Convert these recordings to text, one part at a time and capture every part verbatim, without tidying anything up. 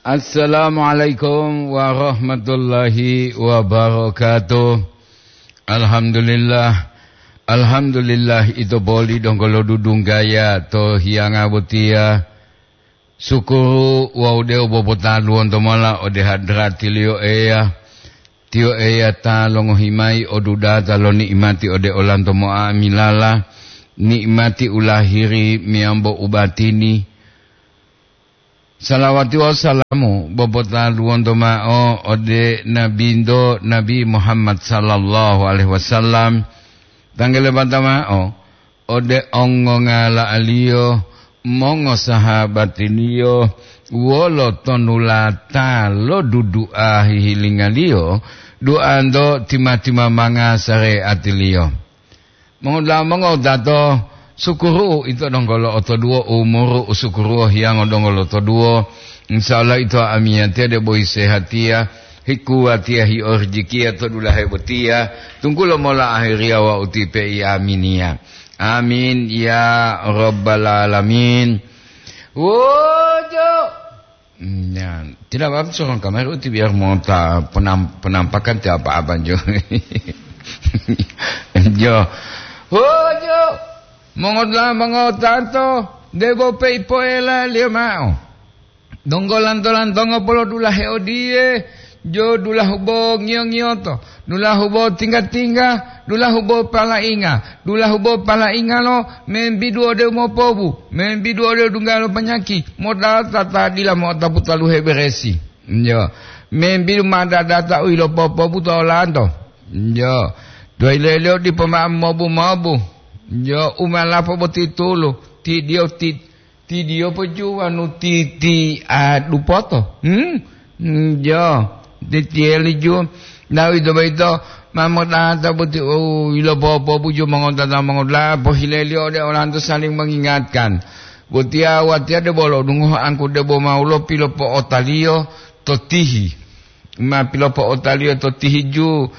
Assalamualaikum warahmatullahi wabarakatuh. Alhamdulillah. Alhamdulillah, ito boli donggo lodudunggaya to hiyanga botiya. Sukuru wawu de'u bobotaluwonto mola ode hadratiliyo Eya. Tiyo Eya ta longohi mayi o dudata lo ni'imati ode olanto mo'amilala, ni'imati u lahiri meyambo u batini. Salawati wawu salamu bobotaluwonto ma'o ode Nabinto Nabi Muhammad sallallahu alaihi wasallam, tanggele bata ma'o ode ongongala'aliyo, mongosahabatiliyo, wolo tonulata lo dudu'a hihilingaliyo, du'anto tima-timamanga sare'atiliyo. Mongoda'a mongowutato, sukuru'u ito donggo lo'otoduwo umuru, u sukuru'u hiyango donggo lotoduwo. Insya Allah ito amiyatiya debo hisehatiya, hikuwatiya, hiorijikiya to dulahe botiya, tunggulo mola ahiriya wawu tipe i aminiya. Amin ya rabbal alamin. Wojo. Ya, tidak apa-apa, seorang kamar itu biar mau ta-, penam-, penampakan tidak apa-apa, Jo. Jo. Wojo. Mongota-, mongotato, debo pe ipoela liyo ma'o. Donggo lanto-lantongo polodulahe odiye, jo dulahu bo ngiyo-ngiyoto, dulahu bo tingga-tingga, dulahu bo palainga, dulahu bo palaingalo membidu ode umopobu, membidu ode dungga lo panyaki, modata ta dila mo'otapu taluhe beresi. Jo, membidu madadata u ilopopobu to olanto. Jo, doileliyo dipo ma'o mobu-mobu. Jo, umalapo boti tulu, tidiyo ti Tidiyo pojuwanu titi a dupoto. Hmm? Hmm, jo. Titiyeli ju. Nah, ito boyito, ma modata boti, oh, ilopopobuju mongotata mongoda'a, pohileliyo ode olanto saling mengingatkan. Botiya watiya debo lo'odungohe angku debo mawulo pilopo'otaliyo to tihi. Ma pilopo'otaliyo to tihiju,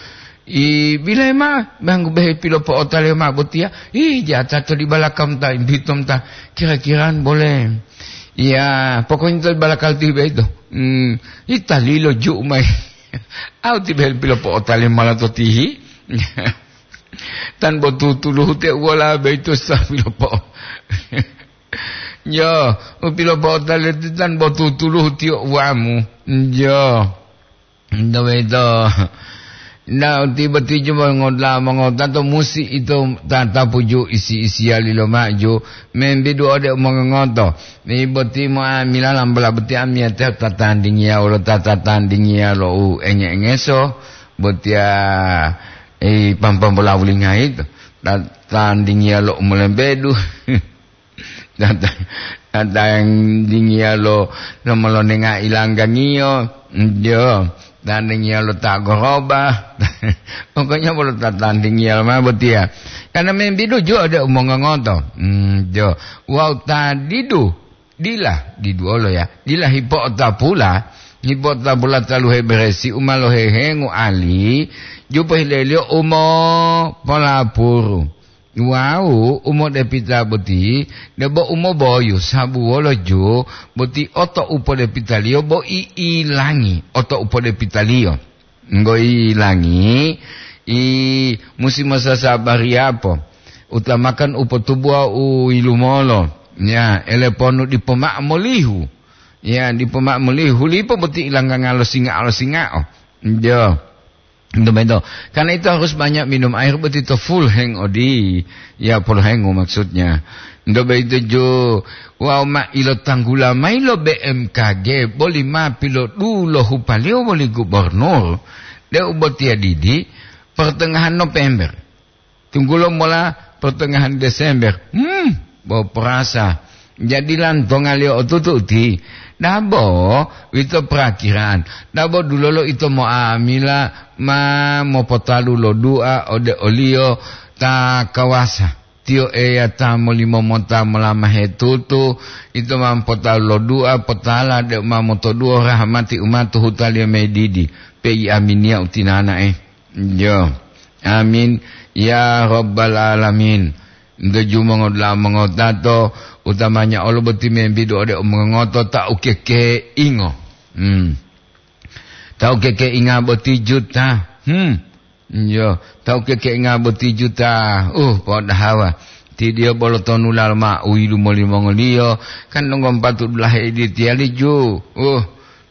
i, bilayi ma, banggu behe pilopo'otaliyo ma botiya, ih, jata to di balakam ta, bitom ta, kira-kiraan boleh. Ya, pokoknya to balakal tihi beito. Hmm, italilo ju mai. Au ti behe pilopo'otaliyo mala to tihi. Tan bo tutuluhu te uwola beito sa pilopo. Yo, u pilopo'otaliyo ti tan bo tutuluhu tiyo uwamu. Yo. Nto boyito, na utibo tijubo ngota mongotato musi ito tatapuju isi-isiyali lomaju, membidu ode umongongoto. Ni boti mo'amila lambola boti amiyatiya tatandingiya wolo ta tatandingiya lo u enge-engeso, botiya, eh, pampambola wulingayi to, tatandingiya lo u molembedu. Tata-, tatandingiya lo, lo molonenga ilanggangiyo, jo, tandingiya lo ta goroba. Pokoknya bolo tatandingiya lo ma botiya. Karena membidu jo ode umongongoto. Hmm, jo. Wawu ta didu, dila, diduwolo ya. Dila hipo'otapula, hipo'otapula taluhe beresi u ma lohehengu ali, ju pohileliyo umo polapuru. Wawu u modepita boti debo u moboyu sabu wolo ju boti oto u podepitaliyo bo i'ilangi oto u podepitaliyo. Ngo i'ilangi, i musi mosasabariyapo, utamakan u potubuwa u yilumolo, ya, eleponu dipo ma'o molihu. Ya, dipo ma'o molihu, lipo boti ilangganga'a lo singa'o-lo singa'o. Jo. Nto bento. Karena itu harus banyak minum air, boti to full heng odi. Ya, full hengu maksudnya. Nto bento jo, wawu ma ilotanggula mayi lo B M K G, boli ma pilodulohupaliyo woli gubernur, deu botiya didi, pertengahan November. Tunggulo mola pertengahan Desember. Hmm, bo perasa. Jadi lantongaliyo otutu uti. Dabo, ito perakiraan. Dabo dulolo ito mo'amila ma mopotalu lo dua ode oliyo ta kawasa. Tiyo Eya ta molimo mota molamahe tutu, ito ma mopotalu lo dua, potala deu ma motoduwo rahamati u ma to hutaliyo medidi, peyi aminiya utinana'e. Jo. Amin. Ya Rabbal Alamin. Nto jumongo dula mongotato, utamanya olo boti membidu ode umongoto ta ukekeingo. Hmm. Tawu kekeinga boti juta. Hmm. Iyo, tawu kekeinga boti juta. Uh, po'odahawa. Ti diyo bolo tonu lalo ma uyilu molimongoliyo. Kan donggo mpatu dulahe idi tiyali ju. Uh,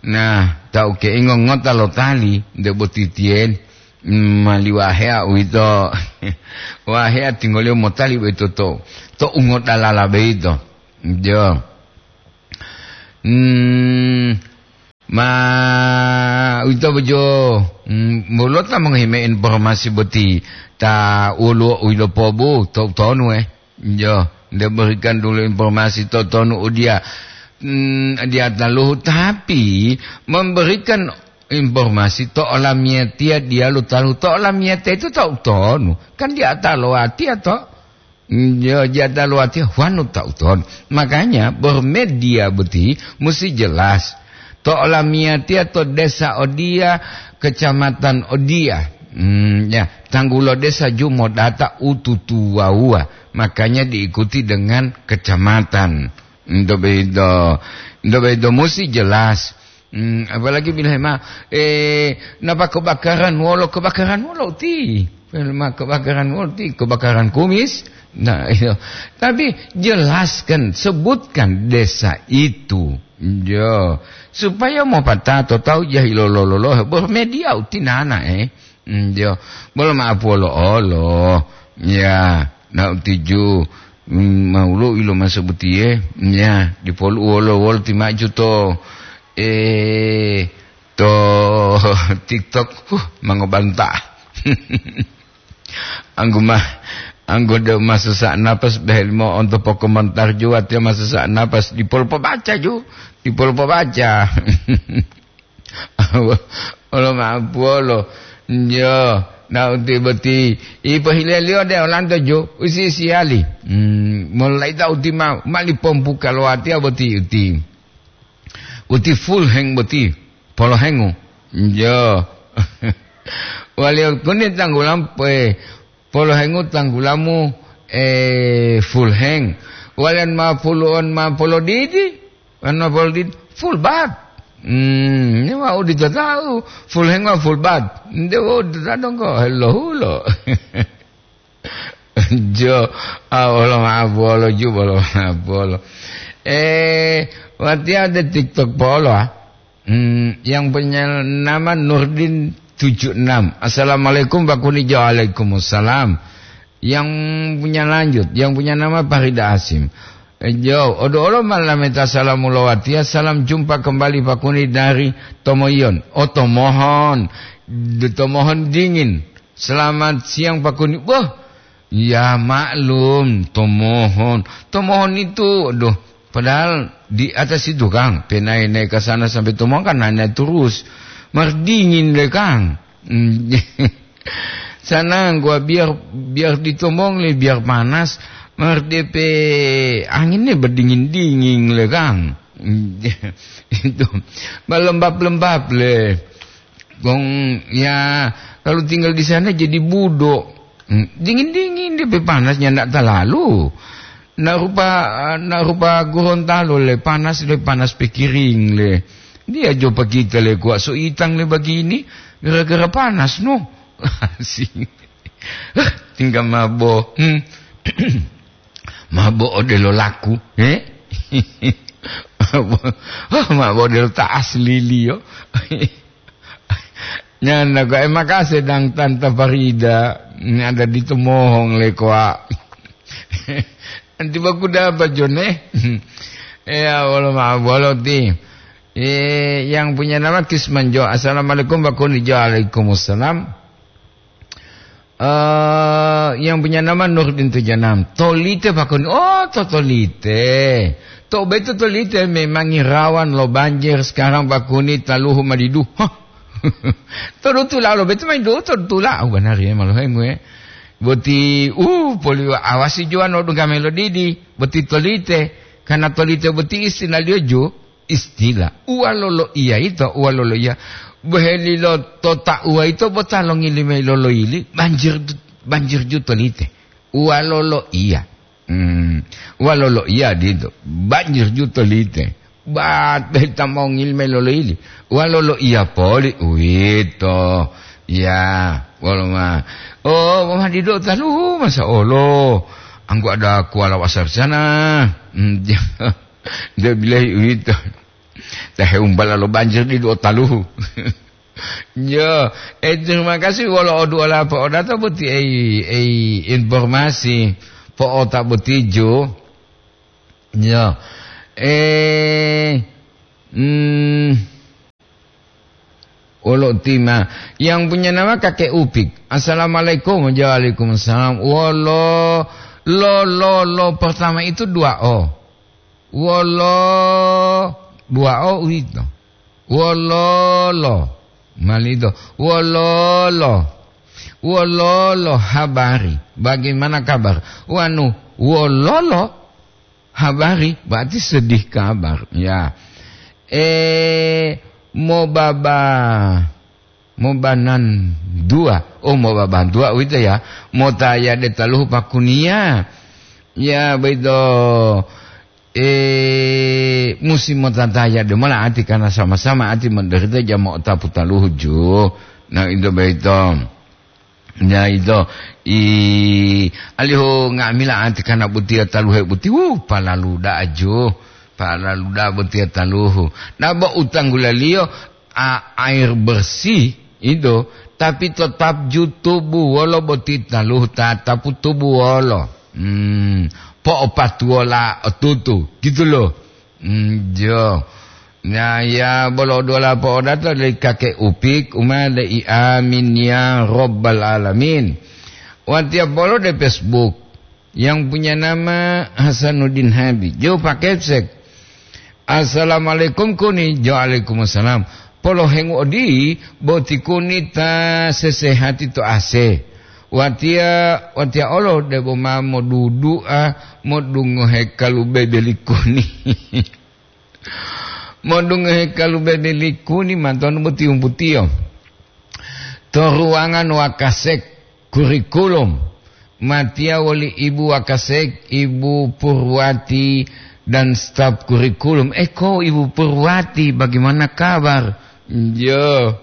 nah, tawu keingo ngota lo tali, nde boti tiyen. Hmm, mali wahea uwito. Wahea tingoliyo motali boyito to, to ungodalala boyito. Iyo. Hmm, ma uwito bojo, hmm, mulota mongohi me informasi boti ta woluwo u yilopobu to utonu, eh. Iyo, nde berikan dulu informasi to tonu udiya, hmm, diya taluhu, tapi memberikan informasi to olamiyatiya diyalu taluhu. To olamiyatiya itu ta utonu. Kan diya ta lowatiya to. Yo, jada luwatiya wanu ta utonu. Makanya, bermedia boti musi jelas. To olamiyatiya to desa odiya, kecamatan odiya. Hmm, ya, tanggulo desa ju modata u tutuwawuwa. Makanya diikuti dengan kecamatan. Nto bedo, nto bedo musi jelas. Hmm, apalagi bila ma, eh, napa kebakaran wolo, kebakaran wolo uti. Bila ma kebakaran wolo uti, kebakaran kumis. Nah, iyo. Tapi jelaskan, sebutkan desa itu. Yo, supaya mau patato tahu jahilo lolo, bermedia uti nana, eh. Hmm, yo, bolo ma'apu olo-olo. Ya, na utiju, hmm, maulo ilo maso butiye. Ya, dipolu wolo-wolo ti maju to, eh, to TikTok, huh, mangobanta. Anggu mah, anggu de masusa napas behelmo onto pokomentar ju, watiya masusa napas dipol pobaca ju, dipol pobaca. Olo ma'apuwolo. Yo, na uti boti. Ipohileliyo de olanto ju, usi-usiyali. Hmm, molaita uti ma, mali pompuka lo watiya boti uti. Uti full heng boti, polohengu. Yo. Waliyo kuni tanggulam, eh, polohengu tanggulamu, eh, full heng. Waliyan ma pulu'on ma polodidi, wan ma polodidi, full bat. Hmm, ini wau dito tahu, full heng ma full bat. Nde wau dito tahu dongko, hello hulo. Jo, ah, wolo ma'apuwolo ju, wolo ma'apuwolo. Eh, watiya de TikTok polo, ah. Hmm, yang punya nama Nurdin tujuh enam. "Assalamualaikum, Pak Kunijo." "Waalaikumsalam." Yang punya lanjut, yang punya nama Farida Asim. Eh, jo, odo olo malameta salamu lo watiya, salam jumpa kembali Pak Kuni dari Tomoyon. Oh, Tomohon. De Tomohon dingin. "Selamat siang, Pak Kuni." Wah, ya maklum, Tomohon. Tomohon itu, aduh, padahal di atas itu, Kang, pe naik-naik ke sana sampai Tomohon kan nanya terus. Mar dingin deh, Kang. Hmm. Sana gua biar, biar di Tomohon le, biar panas. Mar depe anginnya berdingin-dingin le, Kang. Hmm. Itu berlembab-lembab le. Wong, ya, kalau tinggal di sana jadi budo. Hmm, dingin-dingin dia, pe panasnya ndak terlalu. Ndak rupa, ndak rupa Gorontalo le, panas le, panas pikiring le. Dia jo pakita le kuat so itang le begini, gara-gara panas, no. Asing. Hah, tinggal mabo. Hmm. Mabo odelo laku, eh? Mabo, oh, mabo odelo ta asli liyo. Nyanda ko, eh, makase dang Tanta Farida, ini ada di Tomohon le koa. Nanti baku dapat, Jon, eh. Ya, wolo ma-, wolo ti. Eh, yang punya nama Kisman Jo. "Assalamualaikum, Pak Kuni." Jo, "Waalaikumsalam." Eh, yang punya nama Nurdin tujuh enam. Tolite, Pak Kuni. Oh, to Tolite. To beto Tolite memang rawan lo banjir sekarang, Pak Kuni, taluhu madidu. Hah. Todu tula lo beto main do todu tula. Oh, benar ya, malu hengu ya. Boti, uh, poli awasi juan lo dunga melodidi. Boti Tolite. Karena Tolite boti istilah liyo ju. Istilah uwalolo iya yito, uwalolo iya. Bohelilo to tauwa yito bo ta longili mayi loloyili, banjir, banjir ju Tolite. Uwalolo iya. Hmm, uwalolo iya dito, banjir ju Tolite. Bat beta mongil meloloili. Walolo iya poli uwito. Ya, wolo ma. Oh, ma dido taluhu masa olo. Anggo ada kuala wasar sana. Hmm, dia, dia bilahi uwito. Tahe umbala lo banjir di dua taluhu. Ya, eh, terima kasih wolo odu ola po odata boti ei, ei informasi po ota boti jo. Ya. Eh, hmm, wolo tima yang punya nama Kakek Upik. Assalamualaikum. Waalaikumsalam. Wolo, lo, lo, lo pertama itu dua O. Wolo, dua O uwito. Wololo. Malido. Wololo. Wololo habari. Bagaimana kabar? Wanu, wololo habari berarti sedih kabar. Ya. Eh, mobaba, mobanan dua. Oh, mobaban dua uwito ya. Motayade taluhu pakuniya. Ya, begitu. Eh, musi motataya demola ati karena sama-sama ati menderita jama otapu taluhu ju. Nah, itu begitu. Ya, itu. I, alihu nga'amila ati karena butiya taluhe buti. Wuh, palalu da'a ju. Palalu da'a butiya taluhu. Nah, bo utanggulaliyo, a, air bersih itu, tapi tetap ju tubu wolo boti taluhu tatapu tubu wolo. Hmm, po'opatuwola otutu, gitu loh. Hmm, jo. Nah, ya, bolo dola po'odato dari kakek Upik, uma dari amin ya robbal alamin. Watiya bolo de Facebook. Yang punya nama Hasanuddin Habib. Jo pakepsek. Assalamualaikum kuni. Jo alaikumsalam. Polohengu odi boti kuni ta sesehati to ase. Watiya, watiya olo debo ma modudu'a modungohe kalubebe likuni. Modungohe kalubebe likuni matonu boti umputiyo. To ruangan wakasek kurikulum. Matiya woli Ibu Wakasek, Ibu Purwati, dan staf kurikulum. Eh, kok Ibu Purwati, bagaimana kabar? Jo.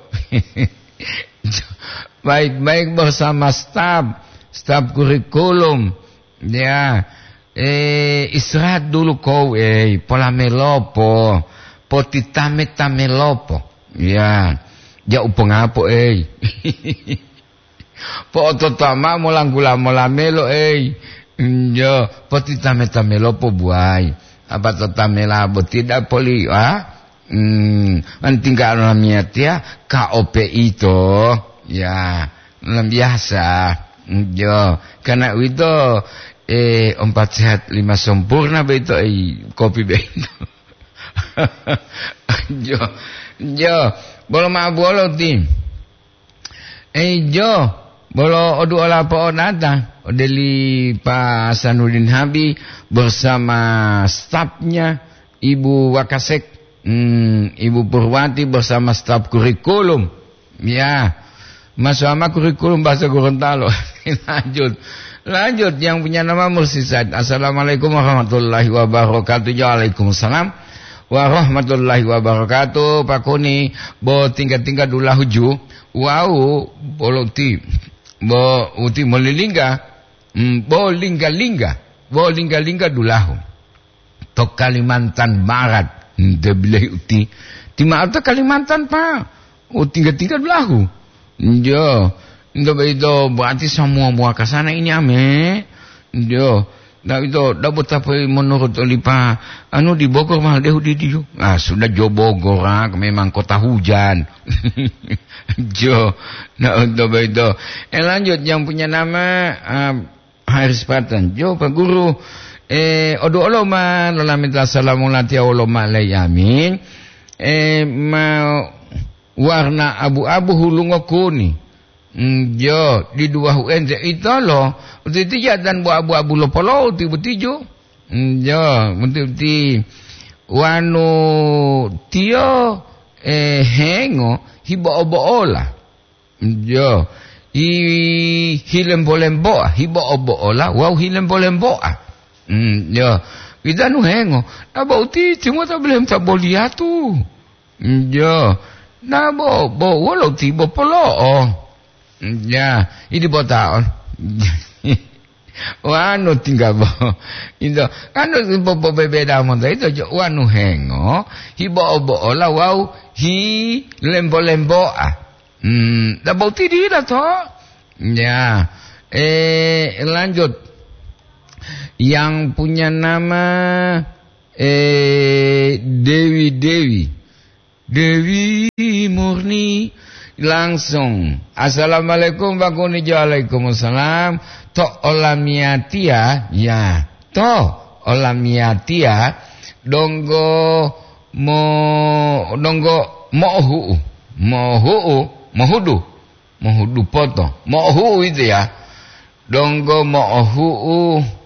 Baik-baik bersama staf, staf kurikulum. Ya. Eh, istirahat dulu kau, eh, pola melopo. Potitame-tame lopo. Ya. Ja upongapo, eh. Po'ototoa mao molanggula mola melo, ei. Njo, potitame-tame lopo buai. Apa totamela boti dapoli, ah? Hmm, antingga lamiyatiya, ka ope ito. Ya, luar biasa. Njo, karena uwito, eh, empat sehat, lima sempurna beito, eh, kopi beito. Jo, jo, bolo ma'o buwolo ti. Ei, jo, bolo oduola po'onata, odeli Pa Sanudin Habi bersama stafnya, Ibu Wakasek, hmm, Ibu Purwati bersama staf kurikulum. Ya, Mas Wama kurikulum bahasa Gorontalo. Lanjut. Lanjut, yang punya nama Mursi Said. Assalamualaikum warahmatullahi wabarakatuh. Waalaikumsalam warahmatullahi wabarakatuh. Pakuni, bo tingga-tingga dulahu ju. Wau, bolo uti, bo uti molilingga, mm, bo lingga-lingga, bo lingga-lingga dulahu. To Kalimantan Barat, nte bilahi uti. Ti ma'o to Kalimantan, Pak. Oh, tingga-tingga dulahu. Njo, nto beito berarti semua mua ke sana ini ame. Njo, Nah, itu, dabo tape menurut oli pa, anu di Bogor mah dehu di diu. Ah, sudah jo Bogor, ah, memang kota hujan. Jo, nah, untuk itu. Eh, lanjut, yang punya nama, ah, Haris Patan. Jo, Pak Guru, eh, odu oloma, lalamita salamu latiya oloma lei amin. Eh, ma warna abu-abu hulungo kuni. Mm, jo, diduwahu ente itolo, utitiya dan bo abu-abu lopolou ti butijo. Mm, jo, muti-uti wanu tiyo, eh, hengo hibo-obo'ola. Mm, jo, i hilembo-lemboa, hibo-obo'ola wawu hilembo-lemboa. Mm, jo, Widanu hengo, na bo uti timota bilem ta boliyatu. Njo, na bo, bo wolo ti bo polo'o. Ya, idi bota on. Wanu tingga bo. Ito, anu bo, bo bebeda monta ito jo wanu hengo, hi bo obo ola wau hi lembo-lemboa. Hmm, da bo uti dila to. Ya, eh, lanjut. Yang punya nama, eh, Dewi Dewi. Dewi Murni langsung. Assalamualaikum, Pak Kuni. Waalaikumsalam. To olamiyatia, ya. To olamiyatia, donggo mo-, donggo mo'ohu'u. Mo'ohu'u, mohudu. Mohudu poto. Mo'ohu'u itu ya. Donggo mo'ohu'u.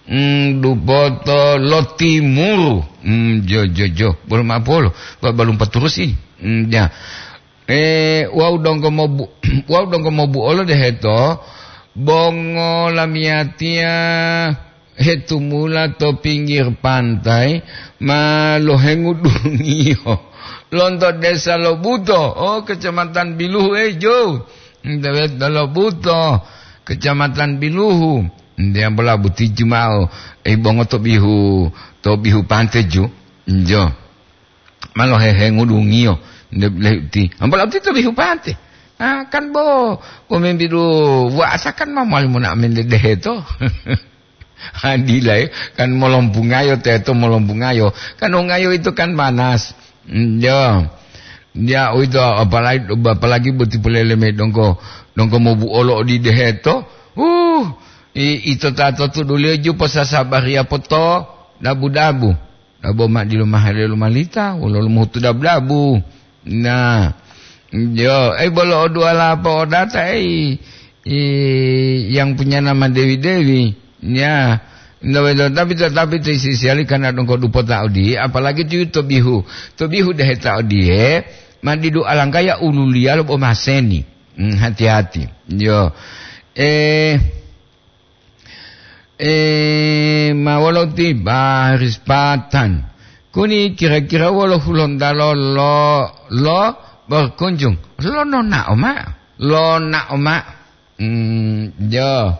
Hmm, dupoto lo timuru. Hmm, jo, jo, jo. Bolo ma'o polo. Ba-, balum paturus ini. Hmm, ya. Eh, wau donggo mobu-, wau donggo mobuolo deheto, bongo lamiyatiya hetumula to pinggir pantai, ma lohengudungiyo. Lonto desa Lobuto, oh, Kecamatan Biluhu, eh, jo. Dewet Lobuto, Kecamatan Biluhu. Nde ambola butiju ma'o, ei bongo to bihu, to bihu pante ju. Njo. Malo hehe ngudungiyo, nde lehuti. Ambola uti to bihu pante. Ah, kan bo, bo membidu wasa kan ma mali mona mende deheto. Adila, eh, kan molombungayo teto molombungayo. Kan ongayo itu kan panas. Njo. Ya, uwito, apalagi, apalagi boti polele mayi donggo, donggo mobuolo odideheto. Uh, i-, ito tato tuduliyo ju posasabariya poto dabu-dabu. Dabo ma dilo mahale lomalita, wolo lomuhutu dabu-dabu. Nah, yo, ei, bolo oduwala po'odata, ei, i-, yang punya nama Dewi-Dewi. Ya, no, tapi, tapi ti sisiali karena donggo dupota odiye, apalagi ti to bihu. To bihu deheta odiye, ma didu alangkaya ululiya lo bo maseni. Hmm, hati-hati. Yo. Eh, eh, ma wolo ti baris patan. Kuni kira-kira wolo Hulontalo lo, lo berkunjung. Lo nonao ma. Lo nao ma. Hmm, jo.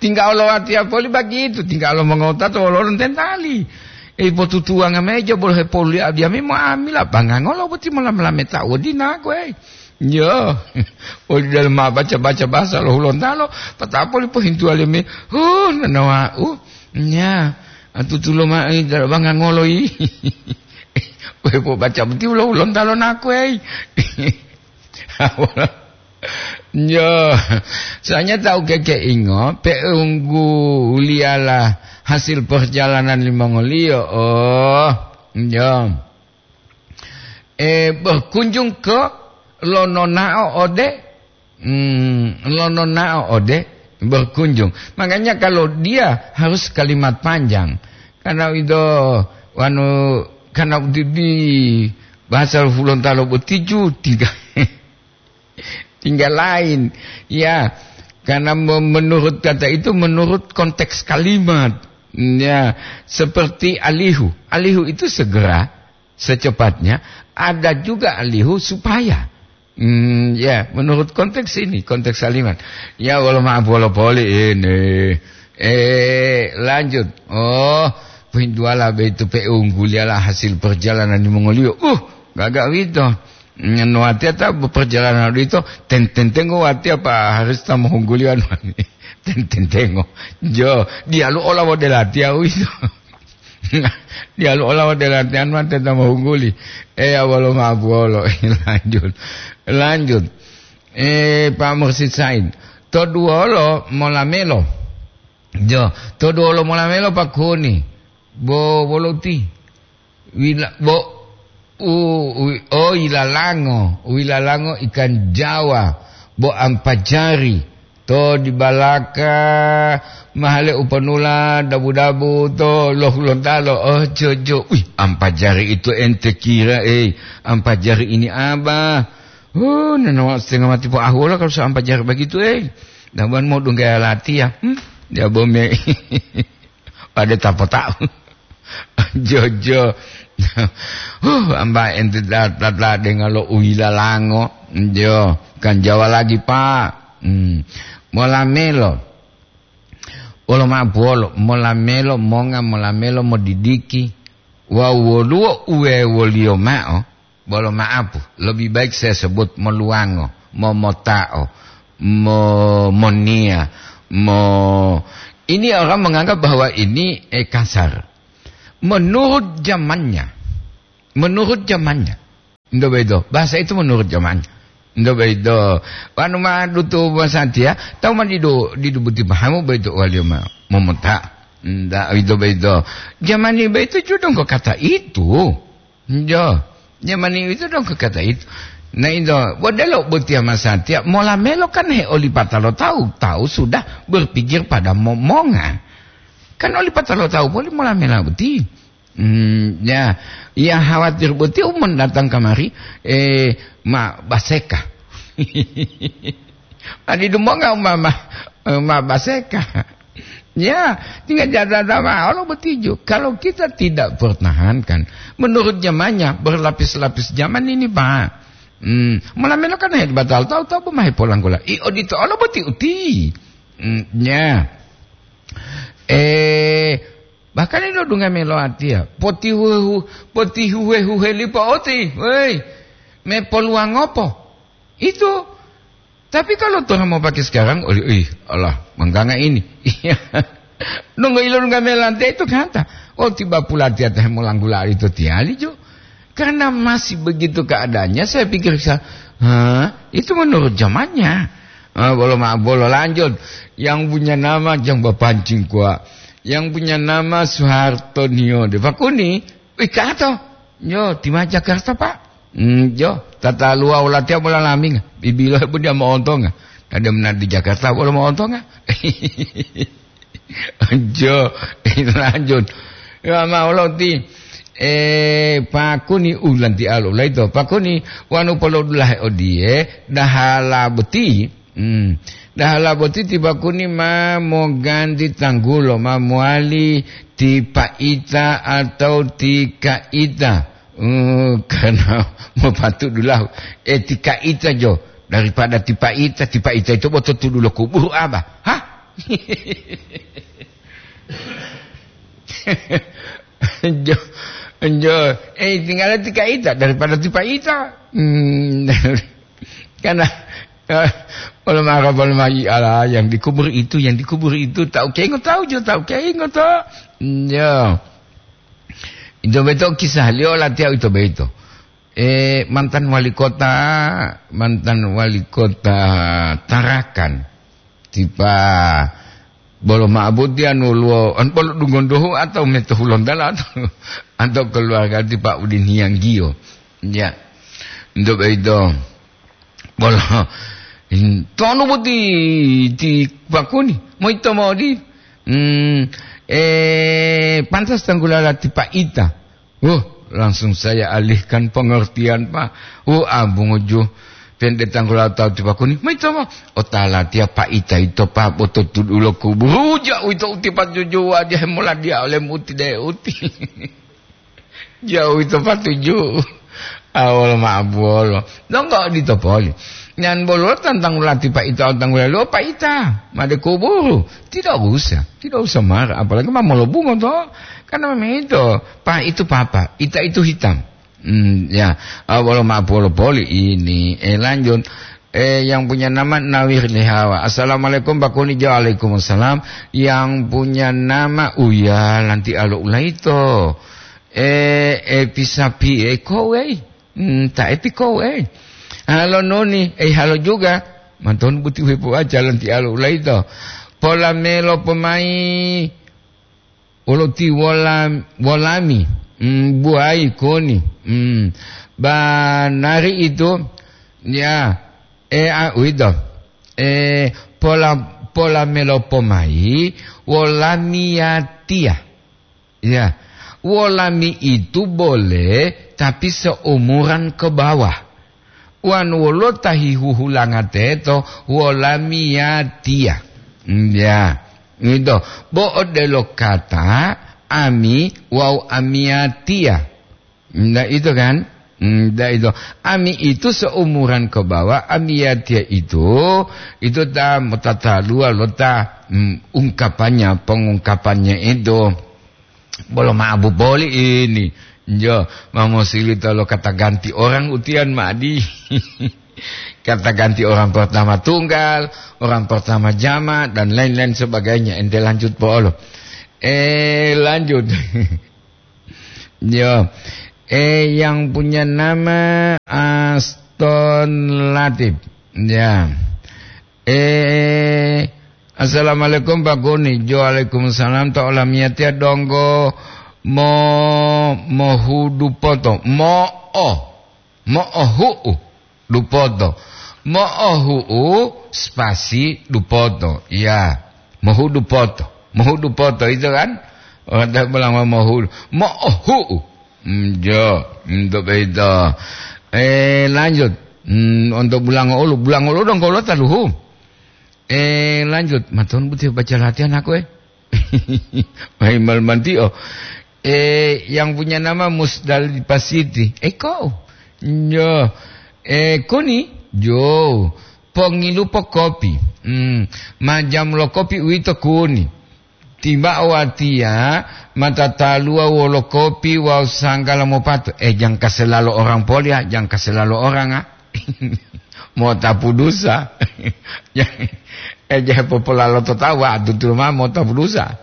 Tingga olo watiya poli bagitu, tingga olo mongota to wolo lontentali. Ei, potutuwanga meja bolo hepolu li abiyami mo amila bangangolo boti molam-lameta wodinaku, ei. Yo, oli dalam ma baca-baca bahasa lo Hulontalo, patapoli pohintuwa leme, huh, nanawa'u. Nya, atutulo ma, ei, dala bangangolo yi. Wepo baca boti lo Hulontalo naku, ei. Yo, soalnya tahu keke ingo, pe'ungguliyala hasil perjalanan limongoliyo. Oh, yo. Eh, berkunjung ke lo nonao ode, hmm, lo nonao ode berkunjung. Makanya kalau dia harus kalimat panjang. Karena itu, anu, karena di, di bahasa Hulontalo boti ju tiga. Tinggal lain. Ya, karena me-, menurut kata itu, menurut konteks kalimat. Ya, seperti alihu. Alihu itu segera, secepatnya. Ada juga alihu supaya. Hmm, ya, menurut konteks ini, konteks kalimat. Ya, wolo maaf, wolo poli ini. Eh, lanjut. Oh, pintuala betu pe'ungguliyala hasil perjalanan limongoliyo. Uh, gaga wito. Nganu watiya ta perjalanan odito, ten-, tentengo watiya pa harus ta mohungguli anu. Ten-, tentengo. Jo, diyalu ola wode latiya uwito. Diyalu ola wode latiya anu te ta mohungguli. Eh, awalo mabuwolo. Lanjut. Lanjut. Eh, Pak Mursid Said. To duwolo molamelo. Jo, to duwolo molamelo pakuni. Bo wolo ti. Wila-, bo, u, wi-, o, ilalango, wilalango ikan Jawa, bo ampajari, to di balaka, mahale upanula, dabu-dabu, to lo Hulontalo, oh, jojo, wih, ampajari itu ente kira, eh, ampajari ini apa? Oh, nanawa setengah mati po ahuola kalau so ampajari begitu, eh. Dabuan mau dungga latiya, hmm? Dia bome. pade tapota'u. Jojo. Huh, amba ente ta-, ta-, ta denga lo uhilalango. Jo, kan Jawa lagi, Pak. Hmm. Molamelo. Wolo ma'o puwolo, molamelo monga, molamelo modidiki. Wawu woluwo uwewoliyo ma'o, bolo ma'apu, lebih baik saya sebut moluwango, momota'o, mo-, moniya, mo-, ini orang menganggap bahwa ini, eh, kasar. Menurut zamannya, menurut zamannya. Ndo bedo, bahasa itu menurut zamannya. Ndo bedo, wanu ma dutu masatiya, tahu ma didu, didu buti pahamu bedo waliyo ma, momota. Nda, ndo bedo. Zaman ini bedo juga dong kata itu. Jo, zaman itu dong kata itu. Nah, itu, bodelo botia masatiya, mola melo kan he olipata lo tahu, tahu sudah berpikir pada momonga. Kan olipata lo tahu boleh mola mela boti. Hmm, ya, yang khawatir boti umon datang kamari, eh, ma baseka. Adi dumonga umama, eh, ma baseka. Ya, tinggal jaga agama, Allah bertinju. Kalau kita tidak pertahankan, menurut zamannya, berlapis-lapis zaman ini, Pak. Hmm, malamelo kan hebat, tahu-tahu, tahu pemahe polang gula. I odito Allah berarti uti. Hmm, ya. Eh, bahkan ini dunga melo atia. Potihuhu-, potihuhe-huhe lipo oti. Woi, me poluang opo? Itu. Tapi kalau Tuhan mau pakai sekarang, oh, ih, Allah, mengganga ini. Iya. Nunggu ilun gamelante itu kata, oh, tiba pula tiata molanggula itu tiali jo. Karena masih begitu keadaannya, saya pikir saya, hah, itu menurut zamannya. Ah, bolo ma-, bolo lanjut. Yang punya nama, yang bapancing kuat. Yang punya nama Soeharto Nio de Fakuni. Wih, kato. Yo, tima Jakarta, Pak. Hmm, yo, tata luwa wala tiya bola laming. Bibilo bu dia moontonga. Ada mena di Jakarta wala moontonga. Jo, lanjut. Ya, ma wala ti, eh, Pakuni ulanti alu laito. Pakuni wanu polo dulahe odie, dahala boti. Hmm. Dahala boti ti Pakuni ma moganti tanggulo, ma mowali ti Paita atau ti Kaita. Hmm, karena mopatu dulahu. Eh, ti Kaita jo. Daripada ti Paita, ti Paita itu boto tudulo kuburu aba. Hah? Jo, jo. Eh, tinggal ti Kaita daripada ti Paita. Hmm. Karena, eh, ulama Arab, ulama, ala yang dikubur itu, yang dikubur itu, tahu kengo tahu jo, tahu kengo tahu. Ya. Itu betul kisah liyo latihan itu betul. Eh, mantan wali kota, mantan wali kota Tarakan. Tipa bolo ma'abudi anu luo, an bolo dungondohu atau meto Hulontala atau, atau keluarga ti Pak Udin Hiyanggiyo. Ya. Untuk itu, bolo, in-, tonu boti ti Pakuni, moito modi. Hmm, eh, pantas tanggulala ti Paita. Uh, langsung saya alihkan pengertian, Pak. Uh, abunguju. Pende tanggula tahu ti Pakuni. Maitama. Otala tiya Paita ito, Pak, boto tudulo kuburu. Jauh ito uti patuju, wajah mola dia oleh muti de uti. Jauh ito patuju. Awal ma'abuolo. Donggo dito poli. Nyan bolo tantang ulati Paita, tantang ulalu Paita. Made kuburu. Tidak usah. Tidak usah marah. Apalagi ma molobungo to. Karena memang itu. Pa itu papa. Ita itu hitam. Hmm, ya. Ah, walau maaf, walau poli ini. Eh, lanjut. Eh, yang punya nama Nawir Lihawa. Assalamualaikum, Pak Kuni. Waalaikumsalam. Yang punya nama Uya Lanti Alo Ulaito. Eh, eh, Pisapi, eh, kowei. Hmm, ta epi kowei. Halo Noni, eh, halo juga. Manton buti wepo aja Lanti Alo Ulaito. Pola melo pomai. Wolo ti wola-, wolami, mm, buai koni. Mm. Banari itu, ya, eh, ah, uwito. Eh, pola, pola melo pomai, wolami yatiya. Ya, wolami itu boleh, tapi seumuran ke bawah. Wan wolo ta hihuhulanga teto, wolami yatiya. Mm, ya. Gitu. Bo odelo kata ami wawu amiyatiya. Ndak itu kan? Ndak itu. Ami itu seumuran ke bawah, amiyatiya itu, itu ta motataluwa lo ta, mm, ungkapannya, pengungkapannya itu. Bolo maabu boli ini. Jo, mamosilito lo kata ganti orang utian madi. Kata ganti orang pertama tunggal, orang pertama jama, dan lain-lain sebagainya. Ente lanjut po olo. Eh, lanjut. Yo. Eh, yang punya nama Aston Latif. Ya. Eh, assalamualaikum Pak Guni. Jo, waalaikumsalam. To olamiyatiya donggo mo, mohu dupoto. Mo'o. Mo'ohu'u dupoto. Mo'ohu'u spasi dupoto. Ya. Mohu dupoto. Mohu dupoto itu kan? Orang tak bilang mohu. Mo'ohu'u. Hmm, jo. Untuk itu. Eh, lanjut. Hmm, untuk bulango ulu. Bulango ulu donggo lo taluhu. Eh, lanjut. Maton buti baca latihan aku, eh. Mahimal mantio. Eh, yang punya nama Musdalifah Siti. Eh, kau? Nyo. Eh, kuni? Jo. Pongilu po kopi. Hmm. Majam lo kopi uwito kuni. Tiba watiya mata taluwa wolo kopi wawu sanggala mopato. Eh, jangka selalo orang polia, jangka selalo orang, ah. Motapu dusa. Eh, je popolalo to tawa, tutulu ma motapu dusa.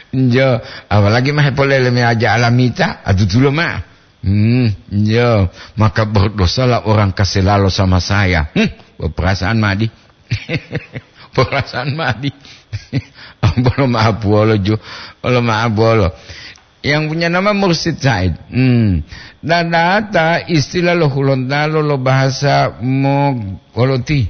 Jo, apalagi ma hepolele me aja alamita, atutulo ma. Hmm, jo, maka berdosalah orang kaselalo sama saya. Hmm, perasaan madi. Perasaan madi. Bolo maapuolo jo, bolo maapuolo. Yang punya nama Mursid Said. Hmm. Dadata istilah lo Hulontalo lo bahasa mo-, koloti.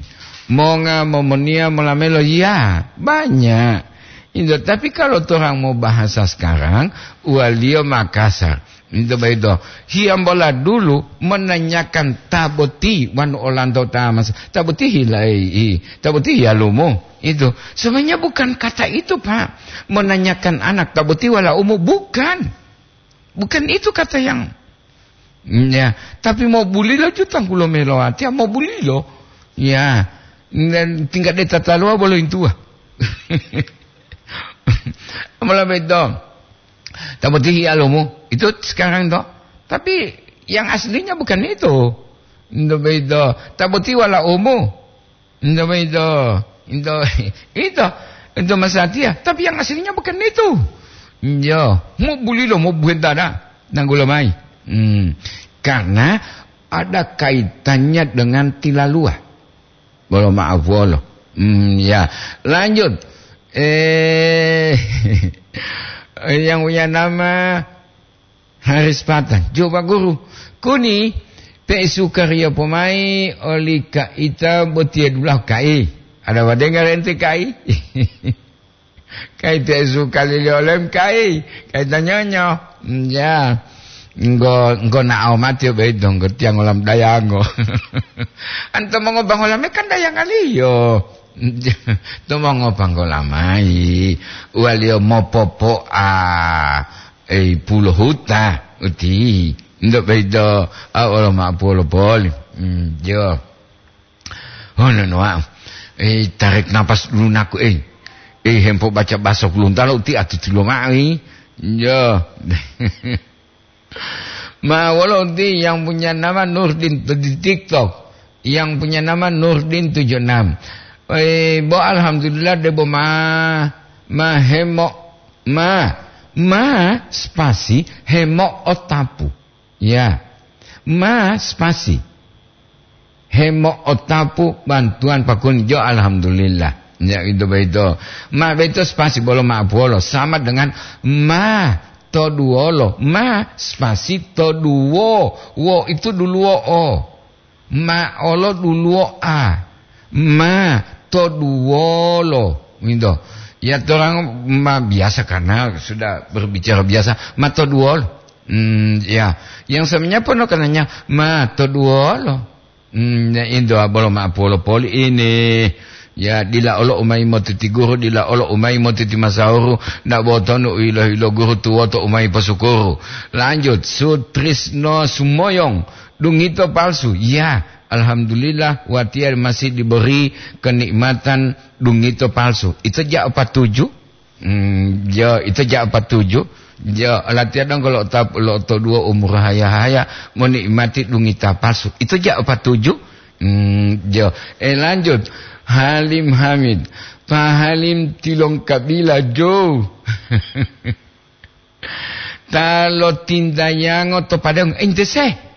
Monga momoniya molamelo. Ya, banyak. Itu, tapi kalau orang mau bahasa sekarang, uwaliyo Makassar. Itu begitu. Hiyambola dulu menanyakan ta boti wanu olanto ta mas. Ta boti hilai, i, ta boti hiyalumu. Itu. Sebenarnya bukan kata itu, Pak. Menanyakan anak ta boti wala umu, bukan. Bukan itu kata yang, ya, tapi mau bulilo jutang kulo melo ati, mau bulilo. Ya. Dan tingkat deta talua bolo intua. Mula beto. Tapi alomu itu sekarang to. Tapi yang aslinya bukan itu. Itu beto. Tapi wala umu. Ento boyito, ento, ito, ento masatiya, tapi yang aslinya bukan itu. Yo, mau bulilo, mau buhentana, nanggulo mai. Hmm, karena ada kaitannya dengan tilaluwa. Bolo maaf, bolo. Hmm, ya. Lanjut. Eh, yang punya nama Haris Patang, "Coba guru, kuni pe sukariya pomai oli kaita botiye dulahu kai. Ada wadenga rente kai?" Kai te suka lili olem kai, kai tanyonyo. Ya, nggo, nggo na'o mati obe donggo tiang olam dayango. Anto mongobang olame kan dayangaliyo. To mongobang olamai, waliyo mopopo'a. Ei, pulo huta, uti. Ndo baido, a, olo ma pulo poli. Hmm, jo. Ono noa. Ei, tarik napas dulu naku, ei. Ei, hempo baca bahasa Gorontalo, uti atutulo ma'o, ei. Jo. Ma wolo uti yang punya nama Nurdin di TikTok. Yang punya nama Nurdin tujuh enam. Eh, bo alhamdulillah debo ma, ma hemo, ma, ma spasi hemo otapu. Ya. Ma spasi hemo otapu bantuan pakun jo alhamdulillah. Ya, itu beito. Ma beito spasi bolo ma puolo sama dengan ma toduolo. Ma spasi toduo. Wo itu duluo o. Ma olo duluo a. Ma toduolo. Gitu. Ya, orang ma biasa karena sudah berbicara biasa. Ma toduolo. Hmm, ya. Yang sebenarnya pun kenanya ma toduolo. Hmm, ya, itu bolo ma puolo poli ini. Ya, dila olo umayi motiti guru, dila olo umayi motiti masahuru, ndak botonu u ilo-ilo guru tuwoto umayi posukuru. Lanjut, Sutrisno Sumoyong, dungito palsu. Ya, alhamdulillah, watiya masih diberi kenikmatan dungito palsu. Itu ja apa tuju? Hmm, ya, itu ja apa tuju? Ya, latihan dong kalau tap, lo to dua umur haya-haya, menikmati dungita palsu. Itu ja apa tuju? Hmm, ya. Eh, lanjut. Halim Hamid. Pak Halim tilong kabila, Jo. Ta lotintayango to padang. Ente se.